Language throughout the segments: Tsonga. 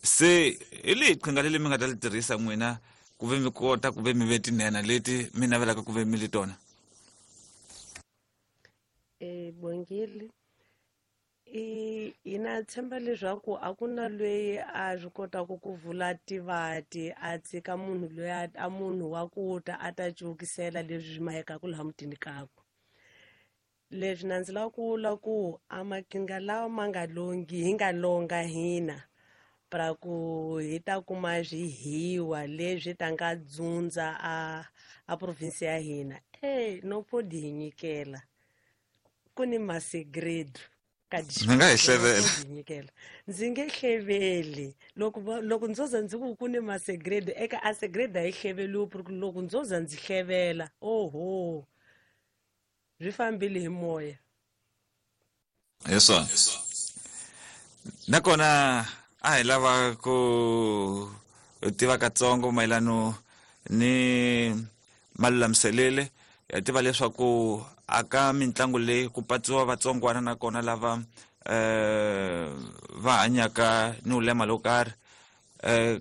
Se hi lihi qhinga leli mi nga ta li tirhisa n'wina ku ve mi kota ku ve mi ve tinhenha leti mi navelaka ku ve mi li tona? Bongile, i hina tshemba leswaku a ku na loyi a swi kotaka ku vula tivati a tshika munhu loyi a munhu wa ku ta a ta cukisela leswi swi mahekaku laha mutini kakwe. Leswi na ndzi lava ku vula ku a maqhinga lawa ma nga longi hi nga longa hina pra ku hi ta kuma swihiwa leswi ta nga dzundza a province ya hina, e no podi hi nyikela ku ni masegredo ka Mi nga hi hlevela. Nyikela ndzi nge hleveli loko ndzo za ndzi ku ku ni masegredo eka a segredo a yi hleveliwi, ku loko ndzo za ndzi hlevela, oho, swi fambile hi moya. Hi swona, nakona a hi lava ku tiva katsongo mayelano ni malulamiselele ya tiva leswaku aka mitlangu leyi ku patsiwa vatsongwana nakona lava va hanyaka ni ulema lo karhi.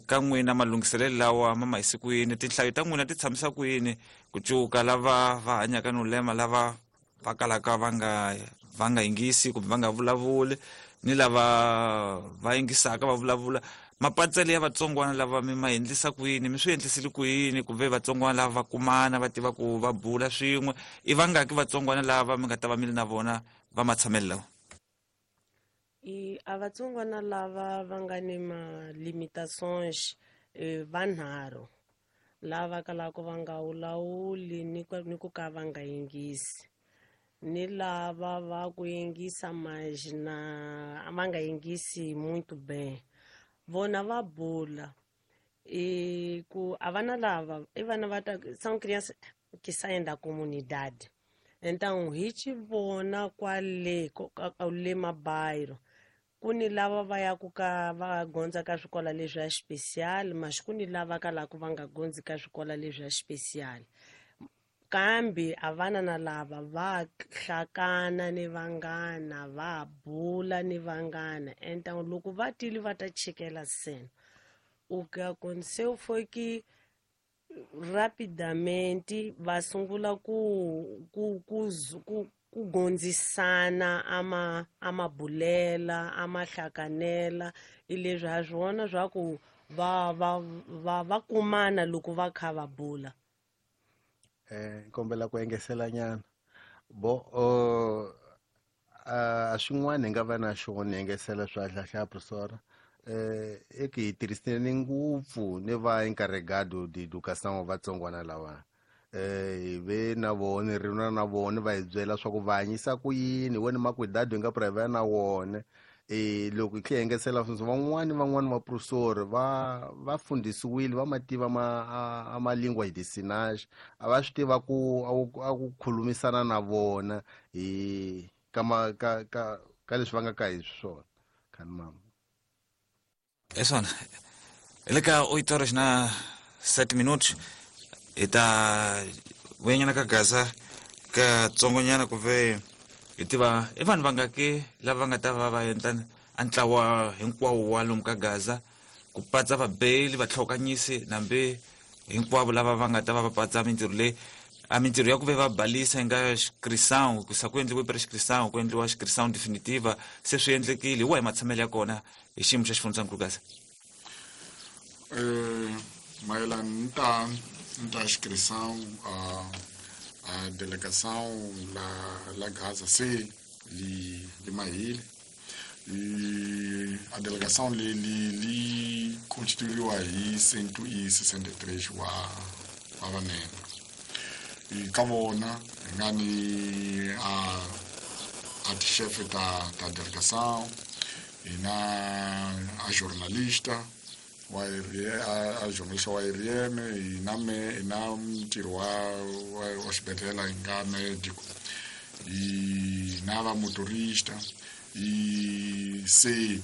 Ka n'wina malunghiselelo lawa ma ma yise ku yini? Tinhlayo ta n'wina ti tshamisa ku yini ku cuka lava va hanyaka ni ulema, lava va kalaka va nga yingisi kumbe va nga vulavuli, ni lava va yingisaka va vulavula? Mapatsele ya vatsongwana lava mi ma endlisa ku yini? Mi swi endlisile ku yini ku ve vatsongwana lava va kumana, va tiva ku va bula swin'we? I vangaki vatsongwana lava mi nga ta va mi ri na vona va matshamelo lawa? I a vatsongwana lava va nga ni ma-limitations, vanharhu lava kalaka va nga wulawuli ni ku ka va nga yingisi, ni lava va ku yingisa mas na va nga yingisi muito bem, vona va bula e ku a vana lava i vana va ta são crianças que saem da comunidade, então hi ci vona kwale le mabairro ku ni lava va yaku ka va gondza ka swikola leswi ya special, mas ku ni lava kalaka va nga gondzi ka swikola leswi ya special, kambe a vana na lava va hlakana ni vanghana, va bula ni vanghana. Então loko va tile va ta chikela cena, o que aconteceu foi que rapidamente va sungula ku gondzisana ama bulela ama hlakanela. I leswi ha swi vona swa ku va kumana loko va kha va bula. Kombela ku engesela nyana bo a swin'wana hi nga va na xona engesela swa hlahla professora, e ku hi tirhiseni ngopfu ni va encarregado de educação vatsongwana lava, hi ve na vona ri na vona, va hi byela swa ku va hanyisa ku yini wena makwidado hi nga private na wona. Loko hi tlhe hi engesela sweswo, van'wani vaprofesori va fundisiwile, va ma tiva ma a ma lingua de sinais, a va swi tiva ku a ku khulumisana na vona hi ka ma ka ka ka leswi va nga ka hi swona khani mama. Hi swona, hi le ka 8 horas na 7 minutos. Hi ta vuyanyana ka Gaza katsongonyana ku ve hi tiva i vanhu vangaki lava nga ta va va endla a ntlawa hinkwawo wa lomu ka Gaza, ku patsa vabeli, vatlhokanyisi, nambi hinkwavo lava va nga ta va va patsa mintirho leyi, a mintirho ya ku ve va balisa hi nga inscrição ku sa ku endliwe pre-inscrição, ku endliwa inscrição definitiva, se swi endlekile? Hi wahi matshamelo ya kona hi xiyimo xa xifundzankulu Gaza? Mayelana ni ta inscrição, a delegação la Gaza se li mahile e a delegação li constituíwa hi 163 wa vanene. E ka vona hi nga ni a tixefe ta delegação, hi na a jornalista wa a jornalista wa RN, hi na me hi na mutirhi wa xibedhlele, hi nga médico, hi na va motorista. E se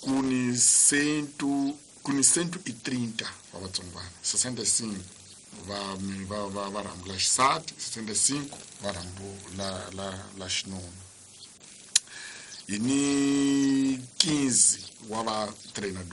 ku ni 130 va vatsongwana, 65 va rhambu la xisati, 65 va rhambu la xinuna. Hi ni 15 wa va treinador.